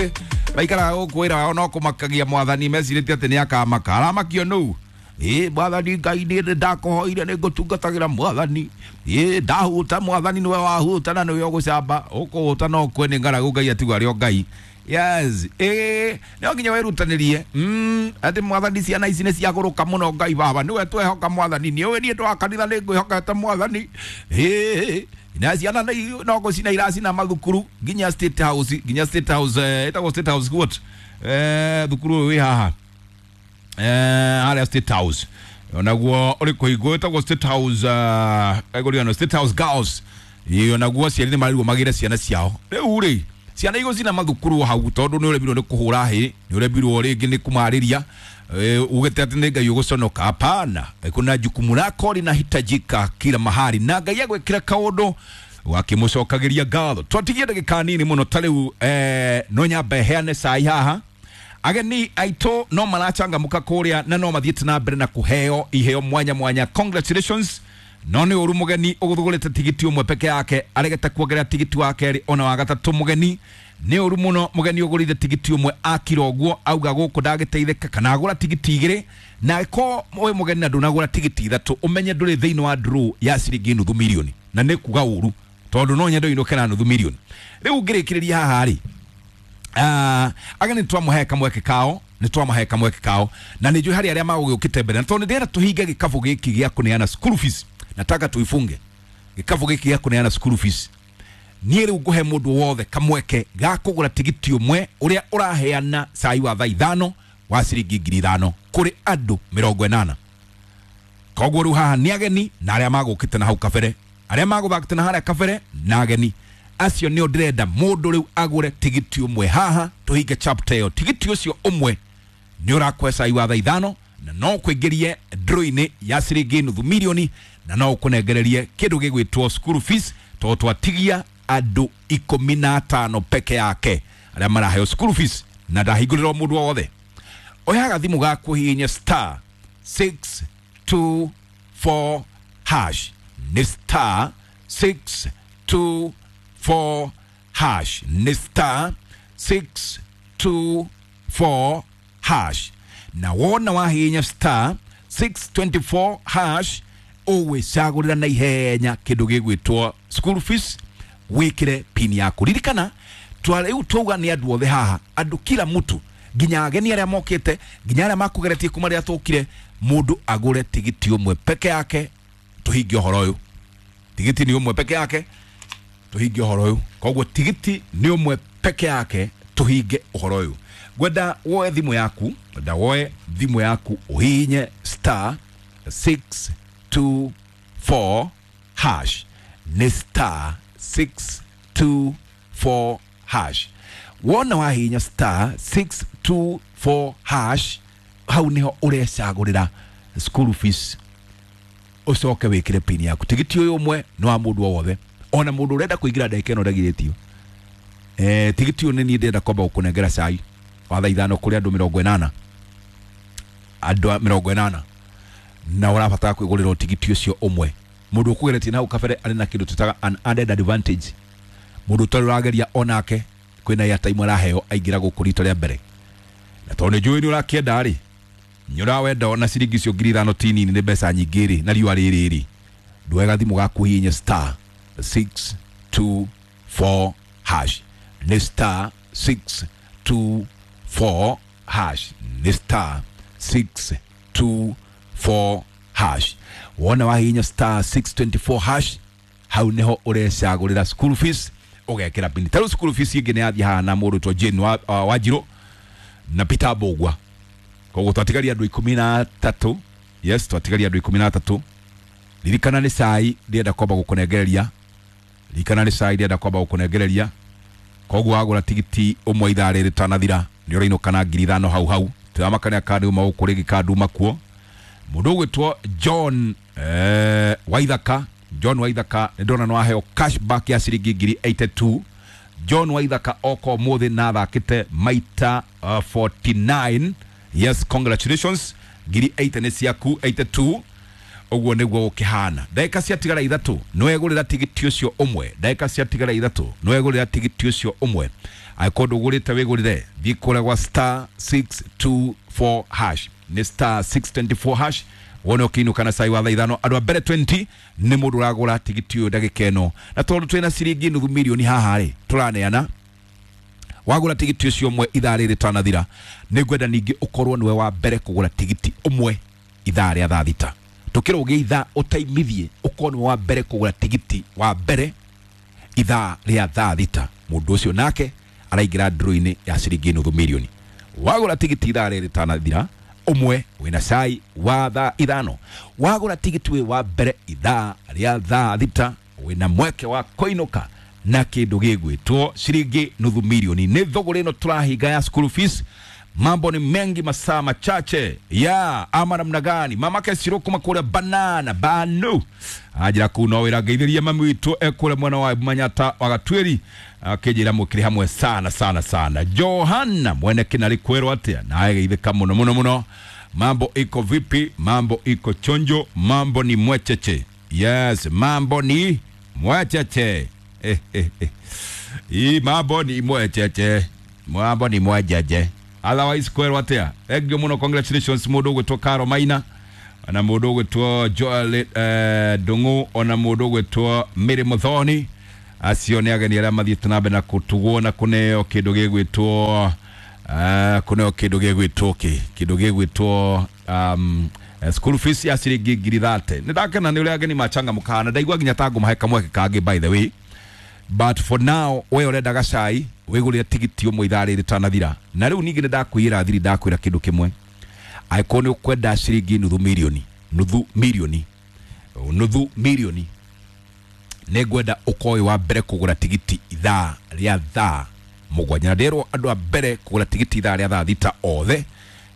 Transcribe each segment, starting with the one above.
Angĩ maikaraga gũkũ wĩra wao no kũmakagia mwathani, mecirĩtie atĩ nĩ akamaka. Aramakio nũu? Ĩ mwathani Ngai, nĩ ndakũhoire, nĩ ngũtungatagĩra mwathani. Ĩ ndahuta mwathani, nĩwe wahuta na nĩwe ũgũcamba ũkũhuta no kwe nĩ ng'aragu. Ngai atigwo arĩ o Ngai. Yes, ĩ no nginya wĩrutanĩrie. Atĩ mwathani, ciana ici nĩ ciagũrũka mũno. Ngai baba, nĩwe twehoka mwathani. Nĩ ũĩ niĩ ndwa kanitha, nĩ ngwĩhokete mwathani. Ĩ na ciana no gũcina iracina mathukuru nginya State House, nginya State House, ĩtagwo State House what, thukuru ũyũ wĩ haha, harĩa State House onaguo ũrĩ kũhingwo, ĩtagwo State House, egũriano State House Girls. Ĩ onaguo aciari nĩ marirwo magĩre ciana ciao. Rĩu rĩ, ciana igũcina mathukuru hau tondũ nĩ ũremirwo nĩ kũhũra hĩ, nĩ ũremirwo rĩngĩ nĩ kũmarĩria, ugĩte atĩ nĩ Ngai ũgũconoka. Hapana, kuna jukumu lako linahitajika kila mahali, na Ngai agwĩkĩra kaũndũ wakĩmũcokagĩria ngatho. Twatigia ndagĩka nini mũno ta rĩu, no nyambe heane cai haha. Ageni aitũ no marachangamũka kũrĩa na no mathiĩte na mbere na kũheo iheo mwanya mwanya. Congratulations. No nĩ ũru mũgeni ũgũthugũrĩte tigiti ũmwe peke yake aregete kuongerera tigiti wa kerĩ ona wa gatatũ. Mũgeni nĩ ũru mũno, mũgeni ũgũrire tigiti ũmwe akira ũguo auga gũkũ ndagĩteithĩka, kana agũra tigiti igĩrĩ. Na ko wĩ mũgeni na ndũnagũra tigiti ithatũ, ũmenye ndũrĩ thĩinĩ wa draw ya ciringi nuthu milioni, na nĩ kuga ũru tondũ no nyende ũinũke na nuthu milioni. Rĩu ngĩrĩkĩrĩria haha rĩ, ageni twamũhe kamweke kao, nĩ twamahe kamweke kao, na nĩ njũĩ harĩ arĩa magũgĩũkĩte mbere, na tondũ nĩ ndĩrenda tũhinge gĩkabũ gĩkĩ gĩa kũneana school fees, nataka tuifunge gĩkabũ gĩkĩ gĩa kũneana school fees. Niĩ rĩu ngũhe mũndũ wothe kamweke ga kũgũra tigiti ũmwe ũrĩa ũraheana cai wa thaa 5 wa ciringi 5,000 kũrĩ andũ 80. Koguo rĩu haha nĩ ageni na arĩa magũkĩte na hau kabere, arĩa magũthakĩte na harĩa kabere na ageni acio nĩo ndĩrenda mũndũ rĩu agũre tigiti ũmwe haha tũhinge chapter ĩyo. Tigiti ũcio ũmwe nĩ ũrakũhe cai wa thaa 5 na no ũkũingĩrie draw-inĩ ya ciringi nuthu milioni, na no ũkũnengererie kĩndũ gĩgwĩtwo school fees, tondũ twatigia andũ 15 peke yake arĩa maraheo school fees, na ndahingũrĩrwo mũndũ o wothe. Oya gathimũ gaku, hihinya star 624 hash. Nĩ star 624 hash, nĩ star 624 hash. Na wona wahihinya star 624 hash, ũgwĩcagũrĩra na ihenya kĩndũ gĩgwĩtwo school fees, wĩkĩre pin yaku. Ririkana rĩu twauga nĩ andũ othe haha, andũ kila mtu, nginya ageni arĩa mokĩte, nginya arĩa makũgeretie kuma rĩrĩa tũkire. Mũndũ agũre tigiti ũmwe peke yake tũhinge ũhoro ũyũ. Tigiti nĩ ũmwe peke yake tũhinge ũhoro ũyũ. Koguo tigiti nĩ ũmwe peke yake tũhinge ũhoro ũyũ. Ngwenda woe thimũ yaku, ngwenda woe thimũ yaku ũhihinye star 624 hash. Nĩ star 624 hash. Wona wahihinya star 624 hash, hau niho ũrecagũrĩra school fees, ũcoke wĩkĩre pin yaku. Tigiti ũyũ ũmwe nĩ wa mũndũ o wothe, ona mũndũ ũrenda kũingĩra ndagĩka ĩno ndagirĩtio. Tigiti ũyũ nĩ niĩ ndĩrenda kwamba gũkũnengera cai wa thaa 5 kũrĩ andũ 80, andũ 80, na ũrabatara kwĩgũrĩra tigiti ũcio ũmwe. Mũndũ ũkũgeretie na hau kabere arĩ na kĩndũ twĩtaga an added advantage. Mũndũ ũtarĩ ũrageria onake kwĩna airtime araheo aingĩra gũkũ rita rĩa mbere. Na tondũ nĩ njũĩ nĩ ũrakĩenda rĩ, nĩ ũrawenda ona ciringi icio 5,000 ti nini, nĩ mbeca nyingĩ rĩ, na riũa rĩrĩ rĩ, ndwega thimũ gaku, hihinya star 624 hash. Nĩ star 624 hash, nĩ star 624 hash. Wona wahihinya star 624 hash, hau niho ũrecagũrĩra school fees, ũgekĩra pin. Ta rĩu school fees ĩngĩ nĩ yathiĩ haha na mũndũ twa Jane wa, Wanjirũ na Peter Mbũgua. Koguo twatigaria andũ 13. Yes, twatigaria andũ 13. Ririkana nĩ cai ndĩrenda kwamba gũkũnengereria. Ririkana nĩ cai ndĩrenda kwamba gũkũnengereria. Koguo wagũra tigiti ũmwe ithaa rĩrĩ rĩtanathira, nĩ ũrainũka na 5,000 hau hau. Tũramakania kana uma gũkũ rĩngĩ kana nduma kuo. Mũndũ ũgwĩtwo John, Waithaka, John Waithaka, nĩ ndona nĩ waheo cashback ya ciringi 82,000. John Waithaka oka ũmũthĩ na athakĩte maita 49. Yes, congratulations, 80,000 nĩ ciaku, 82. Ũguo nĩguo gũkĩhana. Ndagĩka ciatigara 3 nĩwegũrĩra tigiti ũcio ũmwe. Ndagĩka ciatigara 3 nĩwegũrĩra tigiti ũcio ũmwe. Angĩkorwo ndũgũrĩte wĩgũrĩre, thiĩ kũrĩa gwa star 624 hash, nĩ star 624 hash, wone ũkĩinũka na cai wa thaa 5. Andũ a mbere 20 nĩ mũndũ ũragũra tigiti ũyũ ndagĩka ĩno, na tondũ twĩna ciringi nuthu mirioni haha rĩ tũraneana, wagũra tigiti ũcio ũmwe ithaa rĩrĩ rĩtanathira, nĩ ngwenda ningĩ ũkorwo nĩwe wa mbere kũgũra tigiti ũmwe ithaa rĩa thaa 6. Tũkĩrũgĩa ithaa ũtaimithie, ũkorwo nĩwe wa mbere kũgũra tigiti wa mbere ithaa rĩa thaa 6. Mũndũ ũcio nake araingĩra draw-inĩ ya ciringi nuthu mirioni. Wagũra tigiti ithaa rĩrĩ rĩtanathira ũmwe, wĩna cai wa thaa 5. Wagũra tigiti wĩ wa mbere ithaa rĩa thaa 6, wĩna mweke wa kũinũka na kĩndũ gĩgwĩtwo ciringi nuthu mirioni. Nĩ thũgũrĩ ĩno tũrahinga ya school fees. Mambo ni mengi, masaa machache ya ama namna gani? Mamake Ciro kuma kũrĩa banana banu anjĩra kuu no wĩra ngeithĩria mami witũ ekũrĩa mwena wa Manyata wa Gatuĩri, akĩnjĩra mũkĩrĩ hamwe sana sana sana. Johana mwene kĩnarĩ kwĩrwo atĩa naye geithĩka mũno mũno mũno. Mambo iko vipi? Mambo iko chonjo, mambo ni mwecheche. Yes, mambo ni mwecheche. Ii mambo ni mwecheche, mambo ni mwejeje. Otherwise kwĩrwo atĩa? Thank you mũno, congratulations mũndũ ũgwĩtwo Caro Maina na mũndũ ũgwĩtwo Joel Ndung'u ona mũndũ ũgwĩtwo Mary Muthoni. Acio nĩ ageni arĩa mathiĩte na mbere na kũtugwo na kũneo kĩndũ gĩgwĩtwo kũneo kĩndũ gĩgwĩtwo kĩ kĩndũ gĩgwĩtwo school fees ya ciringi 30,000. Nĩ ndakena nĩ ũrĩa ageni machangamũkaga na ndaigua nginya ta ngũmahe kamweke kangĩ by the way. But for now we ũrenda gacai wĩgũrĩre tigiti ũmwe ithaa rĩrĩ rĩtanathira. Na rĩu ningĩ nĩ ndakwĩra thiri, ndakwĩra kĩndũ kĩmwe, angĩkorwo nĩ ũkwenda ciringi nuthu mirioni, nuthu mirioni, nuthu mirioni, nĩ ngwenda ũkorwo wĩ wa mbere kũgũra tigiti ithaa rĩa thaa 7. Na nderwo andũ a mbere kũgũra tigiti ithaa rĩa thaa 6 othe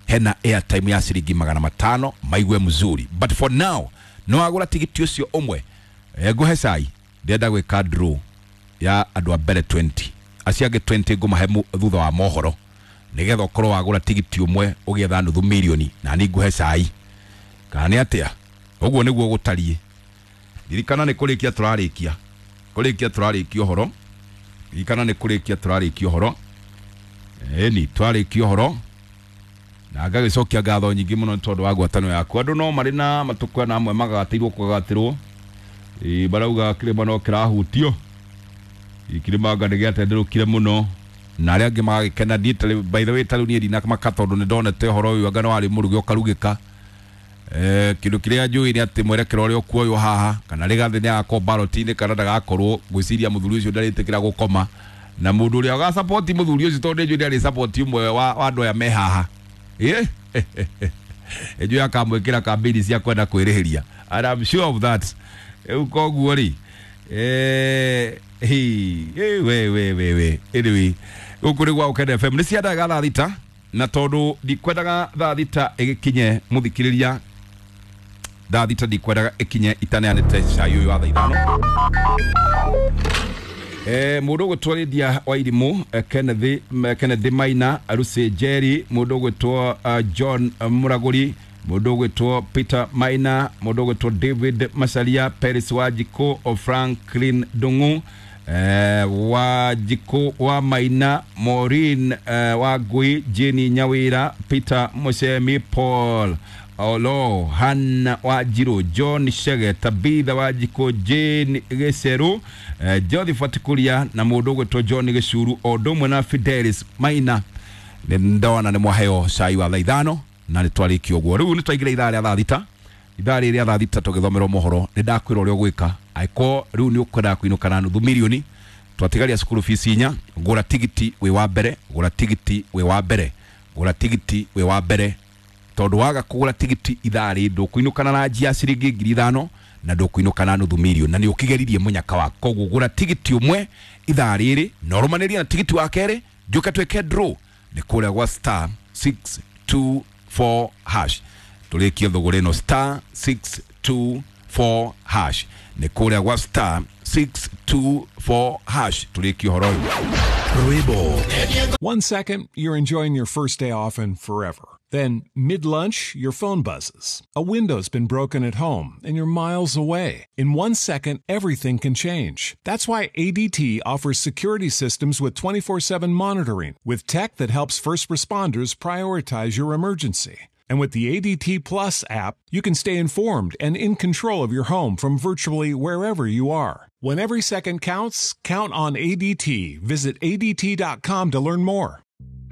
hena airtime ya ciringi 500 maigue mzuri. But for now no wagũra tigiti ũcio ũmwe, ngũhe cai, ndĩrenda gwĩka draw ya andũ a mbere 20, acio angĩ 20 ngũmahe thutha wa mohoro, nĩgetha ũkorwo wagũra tigiti ũmwe ũgĩetha nuthu mirioni na niĩ ngũhe cai. Kana nĩ atĩa? Ũguo nĩguo gũtariĩ. Ririkana nĩ kũrĩkia tũrarĩkia, kũrĩkia tũrarĩkia ũhoro. Ririkana nĩ kũrĩkia tũrarĩkia ũhoro. Ĩni twarĩkia ũhoro na ngagĩcokia ngatho nyingĩ mũno nĩ tondũ wa ngwatanĩro yaku. Andũ no marĩ na matukũ na amwe magatĩirwo kũgatĩrwo, marauga kĩrĩma no kĩrahutio, kĩrĩma anga nĩ gĩatenderũkire mũno, na arĩa angĩ magagĩkena. Niĩ by the way ta rĩu niĩ ndinamaka tondũ nĩ ndonete ũhoro ũyũ anga nĩ warĩ mũruge ũkarugĩka. Kĩndũ kĩrĩa njũĩ nĩ atĩ mwerekera ũrĩa ũkuoywo haha, kana Rigathĩ nĩ agakorwo ballot-inĩ kana ndagakorwo, ngwĩciria mũthuri ũcio ndarĩtĩkĩra gũkoma na mũndũ ũrĩa ũgasupport mũthuri ũcio, tondũ nĩ njũĩ nĩ arĩ support ũmwe wa andũ aya me haha. Njũĩ akamwĩkĩra campaign cia kwenda kwĩrĩhĩria, and I'm sure of that. Rĩu koguo rĩ, we we we we anyway, gũkũ nĩ gwa Ũkene FM, nĩ cia ndagĩka thaa 6, na tondũ ndikwendaga thaa 6 ĩgĩkinye mũthikĩrĩria, thaa 6 ndikwendaga ĩkinye itaneanĩte cai ũyũ wa thaa 5. Mũndũ ũgwĩtwo Lydia Wairimũ, Kenneth Maina, Lucy Jerry, mũndũ ũgwĩtwo John Mũragũri, mũndũ ũgwĩtwo Peter Maina, mũndũ ũgwĩtwo David Macharia, Peris Wanjikũ, Franklin Ndung'u, Wanjikũ wa Maina, Maureen Wangui, Jane Nyawira, Peter Mucemi, Paul Olo, Hannah Wanjiru, John Shege, Tabitha Wanjikũ, Jane Gĩceru, Josephat Kuria na mũndũ ũgwĩtwo John Gĩcuru, o ũndũ ũmwe na Fidelis Maina. Nĩ ndona nĩ mwaheo cai wa thaa 5 na nĩ twarĩkia ũguo. Rĩu nĩ twaingĩra ithaa rĩa thaa 6, ithaa rĩrĩ rĩa thaa 6 tũgĩthomerwo mohoro. Nĩ ndakwĩra ũrĩa ũgwĩka angĩkorwo rĩu nĩ ũkwendaga kũinũka na nuthu mirioni, twatigaria cukuru fees 4. Gũra tigiti wĩ wa mbere, gũra tigiti wĩ wa mbere, gũra tigiti wĩ wa mbere, tondũ waga kũgũra tigiti ithaa rĩ ndũkũinũkana na njia ciringi 5,000 na ndũkũinũka na nuthu mirioni, na nĩ ũkĩgeririe mũnyaka waku. Koguo gũra tigiti ũmwe ithaa rĩrĩ na ũrũmanĩrie na tigiti wa kerĩ, njũke twĩke draw nĩ kũrĩa gwa star 624 hash. Tũrĩkie thũgũrĩ ĩno star 624 hash, nĩ kũrĩa gwa star 624 hash tũrĩkie ũhoro ũyũ. Rwĩmbo. 1 second, you're enjoying your first day off and forever. Then, mid-lunch, your phone buzzes. A window's been broken at home, and you're miles away. In 1 second, everything can change. That's why ADT offers security systems with 24/7 monitoring, with tech that helps first responders prioritize your emergency. And with the ADT Plus app, you can stay informed and in control of your home from virtually wherever you are. When every second counts, count on ADT. Visit ADT.com to learn more.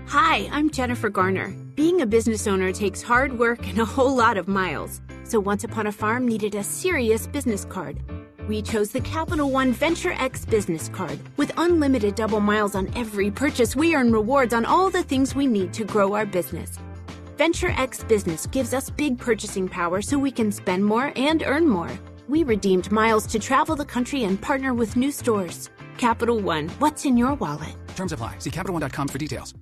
Hi, I'm Jennifer Garner. Being a business owner takes hard work and a whole lot of miles. So Once Upon a Farm needed a serious business card. We chose the Capital One Venture X business card. With unlimited double miles on every purchase, we earn rewards on all the things we need to grow our business. Venture X Business gives us big purchasing power so we can spend more and earn more. We redeemed miles to travel the country and partner with new stores. Capital One, what's in your wallet? Terms apply. See CapitalOne.com for details.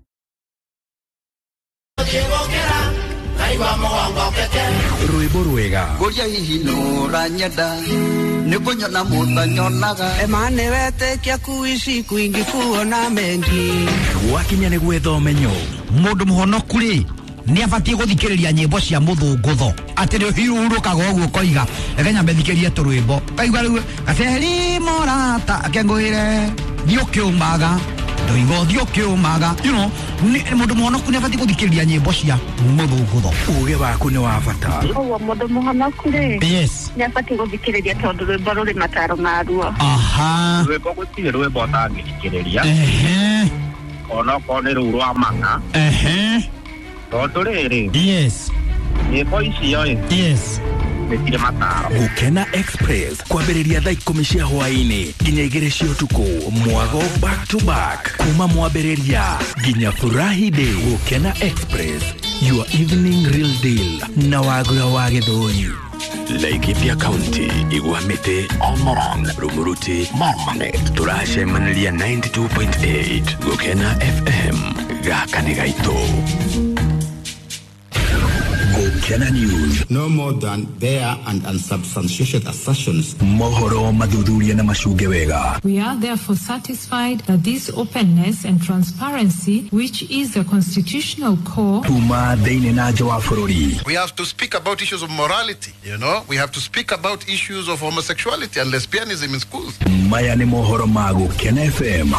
Rwimbo rwega Kuria hihi nũranyenda nĩkũnyona mũtanyonaga Emane wetĩkia kuishi kwingi kuona mengi gwakinya nĩ gwetha ũmenyo Mũndũ mũhonoku rĩ nĩ abatiĩ gũthikĩrĩria nyĩmbo cia mũthũngũtho atĩ nĩ ũhurũkaga ũguo ũkoiga reke nyambe thikĩrie tũrwĩmbo kaigua rĩu gaceri mũrata akengũĩre thiĩ ũkĩũmaga ndoiga ũthiĩ ũkĩũmaga you know mũndũ mũhonoku nĩ abatiĩ gũthikĩrĩria nyĩmbo cia mũthũngũtho uge waku nĩ wa bata Koguo mũndũ mũhonoku rĩ yes nĩ abatiĩ gũthikĩrĩria tondũ rwĩmbo rũrĩ mataro maruo. Aha rwĩmbo gũtirĩ rwĩmbo ũtangĩthikĩrĩria ehe onokorwo nĩ rũu rwa mang'a ehe tondũ rĩrĩ yes nyĩmbo icio ĩ yes nĩ cirĩ mataro. Gukena Express kwambĩrĩria thaa 10 cia hwaĩ-inĩ nginya 2 cia ũtukũ mwago back to back kuma mwambĩrĩria nginya furahi day. Gukena Express, your evening real deal na wagura wa Gĩthũri. Laikipia County, Igwamiti, Olmoron, Rumuruti, Marmanet. Turacemaniria 92.8 Gukena FM gaka nĩ gaitũ. Gukena News. No more than bare and unsubstantiated assertions. Mohoro mathuthuria na macunge wega. We are therefore satisfied that this openness and transparency, which is the constitutional core. Kuma thĩinĩ na nja wa bũrũri. We have to speak about issues of morality, you know. We have to speak about issues of homosexuality and lesbianism in schools. Maya nĩ mohoro ma Gukena FM.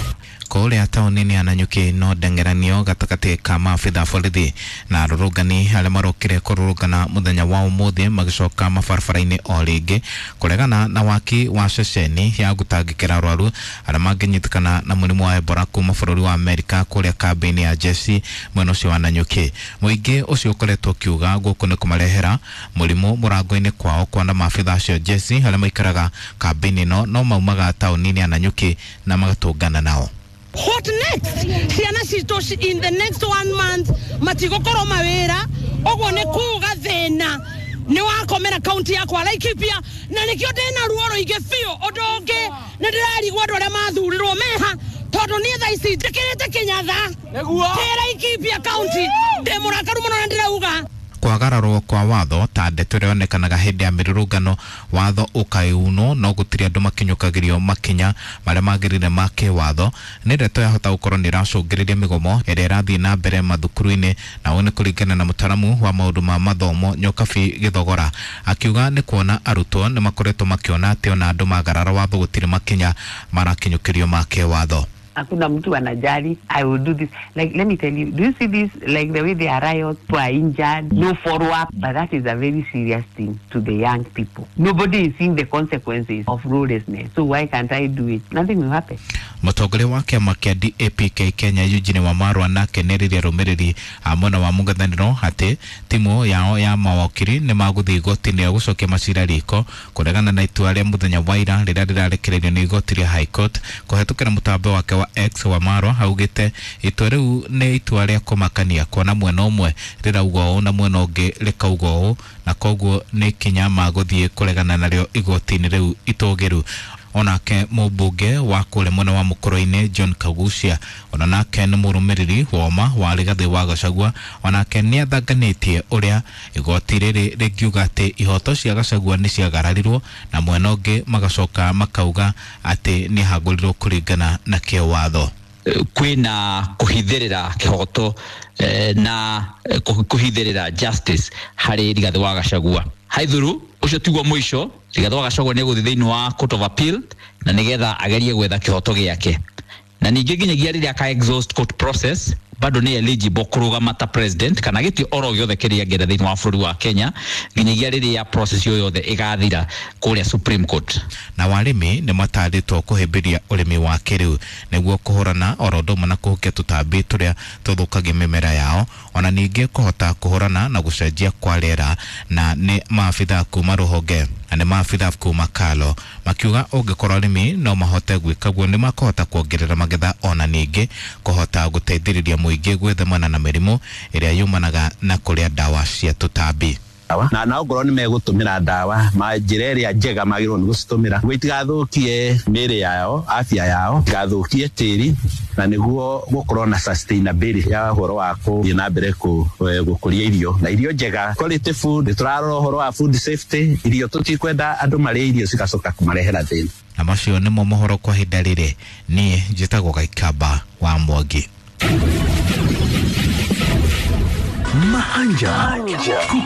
Kũrĩa taũni-inĩ ya Nanyuki no ndengeranio gatagatĩ ka maabitha borithi na arũrũngani arĩa marokire kũrũrũngana mũthenya wa ũmũthĩ magĩcoka mabarabara-inĩ o rĩngĩ kũregana na waki wa ceceni ya gũtangĩkĩra arwaru arĩa mangĩnyitĩkana na mũrimũ wa Ebola kuma bũrũri wa Amerika kũrĩa kambĩ-inĩ ya jeshi mwena ũcio wa Nanyuki. Mũingĩ ũcio ũkoretwo ũkiuga gũkũ nĩ kũmarehera mũrimũ mũrango-inĩ kwao kuona maabitha acio jeshi arĩa maikaraga kambĩ-inĩ ĩno no maumaga taũni-inĩ ya Nanyuki na magatũngana nao. What next? Ciana citũ in the next 1 month matigũkorwo mawĩra ũguo nĩ kuga thĩna nĩ wakomera kaunti yakwa Laikipia na nĩkĩo ndĩna ruo rũingĩ biũ. Ũndũ ũngĩ nĩ ndĩrarigwo andũ arĩa mathurirwo meha tondũ niĩ thaa ici njĩkĩrĩte kĩnyatha kĩ Laikipia kaunti ndĩ mũrakaru mũno na ndĩrauga kwagararwo kwa watho ta ndeto ĩrĩa yonekanaga hĩndĩ ya mĩrũrũngano watho ũkaiunwo no gũtirĩ andũ makinyũkagĩrio makinya marĩa magĩrĩire ma kĩwatho nĩ ndeto yahota gũkorwo nĩ ĩracũngĩrĩria mĩgomo ĩrĩa ĩrathiĩ na mbere mathukuru-inĩ na ũũ nĩ kũringana na mũtaramu wa maũndũ ma mathomo Nyokabi Gĩthogora akiuga nĩ kuona arutwo nĩ makoretwo makĩona atĩ ona andũ magarara watho gũtirĩ makinya marakinyũkĩrio ma kĩwatho. Hakuna mtu anajali. I will do this. Like, let me tell you, do you see this? Like the way they are riots, people are injured, no follow-up. But that is a very serious thing to the young people. Nobody is seeing the consequences of lawlessness. So why can't I do it? Nothing will happen. Mũtongoria wa kĩama kĩa DAPK Kenya Eugene Wamarwa nake nĩerĩire arũmĩrĩri a mwena wa mũng'ethanĩro atĩ timu yao ya mawakiri nĩ magũthiĩ igoti-inĩ gũcokia macira riko kũregana na itua rĩa mũthenya wa ira rĩrĩa rĩrarekereirio nĩ igoti rĩa High Court kũhetũkĩra mũtambo wake wa X. Wamarwa augĩte itua rĩu nĩ itua rĩa kũmakania kuona mwena ũmwe rĩrauga ũũ na mwena ũngĩ rĩkauga ũũ na koguo nĩ ikinya magũthiĩ kũregana narĩo igoti-inĩ rĩu itũgĩru. Onake mũmbunge wa kũrĩa mwena wa Mũkũrũ-inĩ John Kagucia ona nake nĩ mũrũmĩrĩri woma wa Rigathĩ wa Gachagua onake nĩ athanganĩtie ũrĩa igoti rĩrĩ rĩngiuga atĩ ihoto cia Gachagua nĩ ciagararirwo na mwena ũngĩ magacoka makauga atĩ nĩ ahagũrirwo kũringana na kĩwatho. Kwina kuhithirira kihoto na kuhithirira justice hari Rigathi wa Gachagua. Haithuru ucio tiguo muico. Rigathi wa Gachagua ni guthi thiini wa Court of Appeal na nigetha agerie gwetha kihoto giake, na ningĩ nginyagia rĩrĩa aka exhaust court process bado nĩ eligible kũrũgama ta president kana gĩtĩ oro gĩothe kĩrĩa angĩenda thĩinĩ wa bũrũri wa Kenya nginyagia rĩrĩa process ĩyo yothe ĩgathira kũrĩa Supreme Court. Na warĩmi nĩ matarĩtwo kũhĩmbĩria ũrĩmi wa kĩrĩu nĩguo kũhũrana oro ũndũ ũmwe na kũhukia tũtambi tũrĩa tũthũkagia mĩmera yao, ona ningĩ kũhota kũhũrana na gũcenjia kwa rĩera. Na nĩ maabitha kuma rũhonge na nĩ maabitha kuma Kalo makiuga ũngĩkorwo arĩmi no mahote gwĩka guo nĩ makũhota kuongerera magetha, ona ningĩ kũhota gũteithĩrĩria mũingĩ gwĩthemana na mĩrimũ ĩrĩa yumanaga na kũrĩa ndawa cia tũtambi. Na ongorwo nĩ megũtũmĩra ndawa ma njĩra ĩrĩa njega magĩrĩirwo nĩ gũcitũmĩra nĩguo itigathũkie mĩĩrĩ yao, afya yao, itigathũkie tĩri, na nĩguo gũkorwo na sustainability ya ũhoro wa gũthiĩ na mbere gũkũria irio na irio njega, quality food. Tũrarora ũhoro wa food safety, irio tũtikwenda andũ marĩe irio cigacoka kũmarehera thĩna. Na macio nĩmo mohoro kwa ihinda rĩrĩ. Niĩ njĩtagwo Gaikamba wa Mwangi. Mahanja.